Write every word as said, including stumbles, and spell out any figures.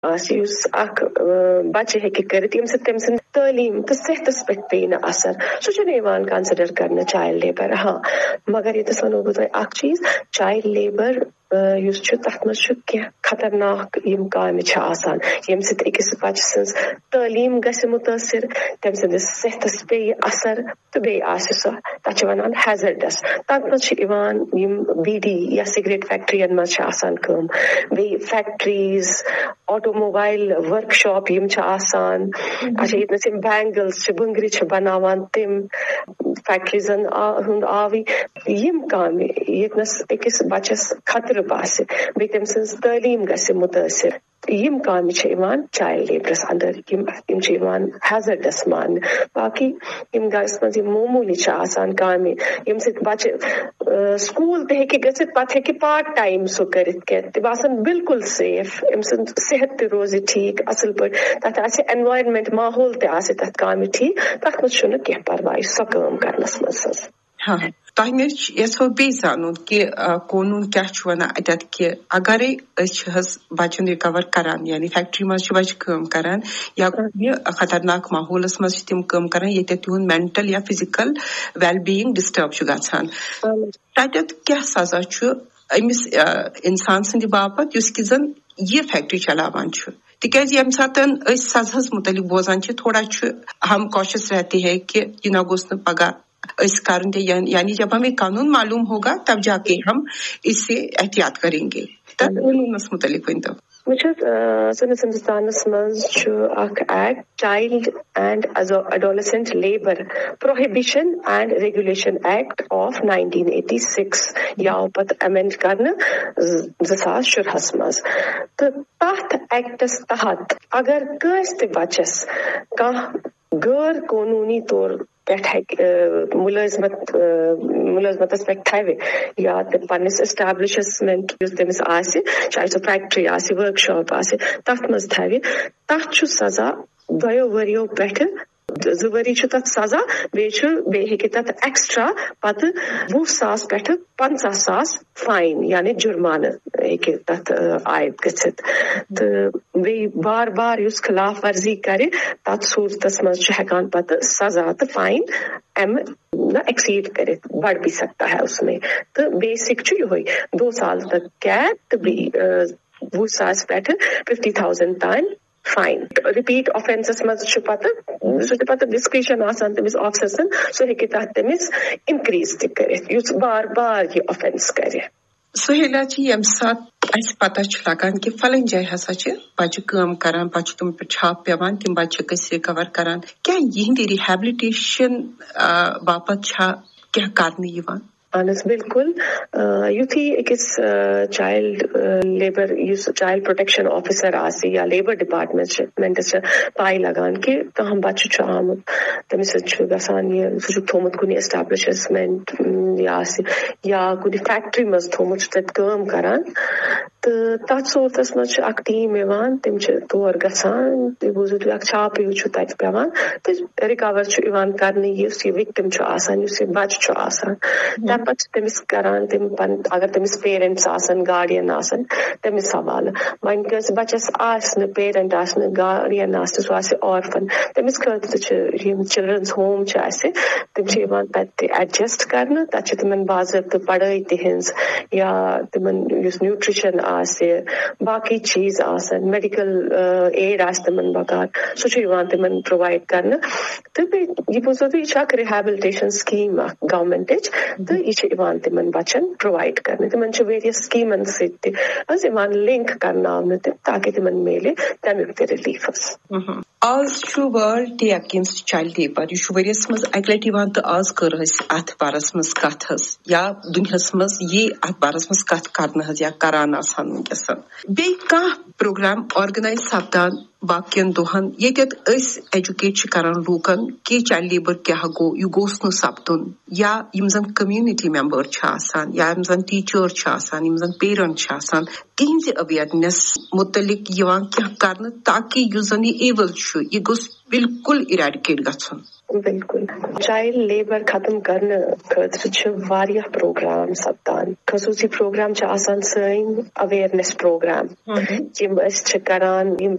آسہِ، یُس اکھ، آ، بچہِ ہیٚکہِ کٔرِتھ، ییٚمہِ سۭتۍ تٔمۍ سٕنٛدِ تعلیٖم تہٕ صحتس پٮ۪ٹھ پیٚیہِ نہٕ اثر، سُہ چھُنہٕ یِوان consider کرنہٕ child labour۔ ہاں، مگر ییٚتٮ۪س وَنو بہٕ تۄہہِ اکھ چیٖز، child labour، آ، یُس چھُ، تَتھ منٛز چھُ کینٛہہ خطرناک یِم کامہِ چھِ آسان، ییٚمہِ سۭتۍ أکِس بچہِ سٕنٛز تعلیٖم گژھِ مُتٲثر، تٔمۍ سٕنٛدِس صحتس پیٚیہِ اثر، تہٕ بیٚیہِ آسہِ سۄ، تَتھ چھِ وَنان hazardous۔ تَتھ منٛز چھِ یِوان یِم بیٖڑی یا سگریٹ فیکٹرین منٛز چھِ آسان کٲم، بیٚیہِ factories، automobile workshop یِم چھِ آسان، اچھا، ییٚتہِ نَس یِم bangles چھِ، بٕنٛگرِ چھِ بَناوان، تِم factoriesن آ-، ہُنٛد آوٕے یِم کامہِ، ییٚتہِ نَس أکِس بَچَس خطرٕ باسہِ، بیٚیہِ تٔمۍ سٕنٛز تعلیٖم گژھِ مُتٲثر۔ یِم کامہِ چھِ یِوان child labourس اندر، یِم، یِم چھِ یِوان hazardous ماننہٕ۔ باقٕے یِم گرس منٛز یِم معموٗلی چھِ آسان کامہِ، ییٚمہِ سۭتۍ بچہِ، آ، school تہِ ہیٚکہِ گٔژھِتھ، پتہٕ ہیٚکہِ part time سُہ کٔرِتھ کینٛہہ، تہِ باسان بالکل safe، أمۍ سُنٛد صحت تہِ روزِ ٹھیٖک اصل پٲٹھۍ، تتھ آسہِ environment، ماحول تہِ آسہِ تتھ کامہِ ٹھیٖک، تتھ منٛز چھُنہٕ کینٛہہ پرواے سۄ کٲم کرنس منٛز حظ۔ ہاں، تۄہہِ نِش یژھو بیٚیہِ زانُن کہِ، آ، قونوٗن کیٛاہ چھُ وَنان اَتٮ۪تھ کہِ اگرے أسۍ چھِ حظ بَچَن recover کران، یعنی فیکٹری منٛز چھِ بَچہِ کٲم کران یا کُنہِ خطرناک ماحولَس منٛز چھِ تِم کٲم کران، ییٚتٮ۪تھ تِہُنٛد mental یا physical well being disturb چھُ گژھان۔ تَتٮ۪تھ کیٛاہ سزا چھُ أمِس، آ، اِنسان سٕنٛدِ باپتھ یُس کہِ زَن یہِ فیکٹری چلاوان چھُ؟ تِکیٛازِ ییٚمہِ ساتَن أسۍ سزہَس مُتعلِق بوزان چھِ، تھوڑا چھُ ہم cautious رہتے ہیں کہ یہِ نہ گوٚژھ نہٕ پگاہ أسۍ کرُن تہِ، یعنی، یعنی جب ہمیں قانون معلوم ہوگا، تب جا کے ہم اس سے احتیاط کریں گے۔ تہٕ قونوٗنس مُتعلِق ؤنۍ تو۔ وٕچھ حظ، آ، سٲنِس ہندوستانس منٛز چھُ اکھ act، Child and Adolescent Labour Prohibition and Regulation Act of nineteen eighty six، یہِ آو پتہٕ amend کرنہٕ زٕ ساس شُرہَس منٛز۔ تہٕ تتھ ایکٹس تحت اگر کٲنٛسہِ تہِ بچس کانٛہہ غٲر قونوٗنی طور پٮ۪ٹھ ہیٚکہِ، آ، مُلٲزمت، آ، مُلٲزمتس پٮ۪ٹھ تھاوِ یا تہِ پننِس establishment یُس تٔمِس آسہِ، چاہے سُہ فیکٹری آسہِ، workshop آسہِ، تتھ منٛز تھاوِ، تتھ چھُ سزا دۄیو ؤرِیو پٮ۪ٹھٕ، زٕ ؤری چھُ تتھ سزا، بیٚیہِ چھُ، بیٚیہِ ہیٚکہِ تتھ extra پتہٕ وُہ ساس پٮ۪ٹھٕ پنٛژاہ ساس fine، یعنی جُرمانہٕ ہیٚکہِ تتھ، آ، عائد گٔژھِتھ۔ تہٕ بیٚیہِ بار بار یُس خلاف ورزی کرِ، تتھ صورتس منٛز چھُ ہٮ۪کان پتہٕ سزا تہٕ fine امہِ نہ exceed کٔرِتھ، بڑھ بھی سکتا ہے اس میں۔ تہٕ basic چھُ یِہوٚے، دو سال تک قید تہٕ بیٚیہِ، آ، وُہ ساس پٮ۪ٹھٕ fifty thousand تام fine۔ Repeat offenceس منٛز چھُ پتہٕ، سُہ چھُ پتہٕ discretion آسان تٔمِس officerسن، سُہ ہیٚکہِ تتھ تٔمِس increase تہِ کٔرِتھ، یُس بار بار یہِ offence کرِ۔ سہیلا جی، ییٚمہِ ساتہٕ اَسہِ پتہ چھُ لگان کہِ فلٲنۍ جایہِ ہسا چھِ بچہِ کٲم کران، پتہٕ چھُ تِمن پٮ۪ٹھ چھاپہٕ پٮ۪وان، تِم بچہِ چھِ أسۍ recover کران، کیٛاہ یِہنٛدِ rehabilitation، آ، باپتھ چھا کینٛہہ کرنہٕ یِوان؟ اہن حظ، بِلکُل۔ آ، یُتھُے أکِس، آ، child، آ، labour، یُس child protection officer آسہِ یا labour departmentس چھِ پَے لَگان کہِ کانٛہہ بَچہٕ چھُ آمُت، تٔمِس سۭتۍ چھُ گژھان یہِ، سُہ چھُکھ تھوٚومُت کُنہِ establishment، اۭں، یا آسہِ، یا کُنہِ فیکٹری منٛز تھوٚومُت، چھُ تَتہِ کٲم کَران۔ تہٕ تَتھ صوٗرتَس منٛز چھِ اَکھ team یِوان، تِم چھِ تور گژھان، تُہۍ بوٗزِو، تُہۍ اَکھ چھاپہٕ ہیوٗ چھُ تَتہِ پٮ۪وان، تہٕ recover چھُ یِوان کرنہٕ، یُس یہِ victim چھُ آسان، یُس یہِ بَچہٕ چھُ آسان۔ تَمہِ پَتہٕ چھِ تٔمِس کران تِم پَن-، اگر تٔمِس parents آسَن، guardian آسَن، تٔمِس حوالہٕ۔ وۄنۍ کٲنٛسہِ بَچَس آسہِ نہٕ parent، آسہِ نہٕ guardian، آسہِ نہٕ، سُہ آسہِ orphan، تٔمِس خٲطرٕ چھِ یِم children's home چھِ اَسہِ، تِم چھِ یِوان تَتہِ adjust کرنہٕ۔ تَتہِ چھِ تِمَن باضٲبطہٕ پڑھٲے تِہِنٛز یا تِمَن یُس nutrition آسہِ، باقٕے چیٖز آسَن، medical، آ، aid آسہِ تِمَن بکار، سُہ چھُ یِوان تِمَن provide کرنہٕ۔ تہٕ بیٚیہِ یہِ بوٗزو تُہۍ، یہِ چھِ اکھ rehabilitation scheme اکھ governmentٕچ، تہٕ یہِ چھِ یِوان تِمن بچن provide کرنہٕ۔ تِمن چھِ واریاہ سکیٖمن سۭتۍ تہِ حظ یِوان link کرناونہٕ تہِ، تاکہِ تِمن میلہِ تمیُک تہِ relief حظ۔ مہم۔ آز چھُ World Day Against Child Labour۔ یہِ چھُ ؤریَس منٛز اَکہِ لَٹہِ یِوان، تہٕ آز کٔر اَسہِ اَتھ بارَس منٛز کَتھ حظ، یا دُنیاہَس منٛز یی اَتھ بارَس منٛز کَتھ کرنہٕ حظ، یا کران آسان وٕنکیٚس۔ بیٚیہِ کانٛہہ program organize سپدان باقین دۄہن، ییٚتٮ۪تھ أسۍ educate چھِ کران لوٗکن کہِ child labour کیٛاہ گوٚو، یہِ گوٚژھ نہٕ سپدُن، یا یِم زن community member چھِ آسان، یا یِم زن teacher چھِ آسان، یِم زن parent چھِ آسان، تِہنٛزِ awareness مُتعلق یِوان کینٛہہ کرنہٕ، تاکہِ یُس زن یہِ evil چھُ، یہِ گوٚژھ بالکل eradicate گژھُن۔ بِلکُل۔ چایلڈ لیبر ختم کرنہٕ خٲطرٕ چھِ واریاہ پروگرام سپدان۔ خصوٗصی پروگرام چھِ آسان سٲنۍ اویرنیس پروگرام، یِم أسۍ چھِ کران، یِم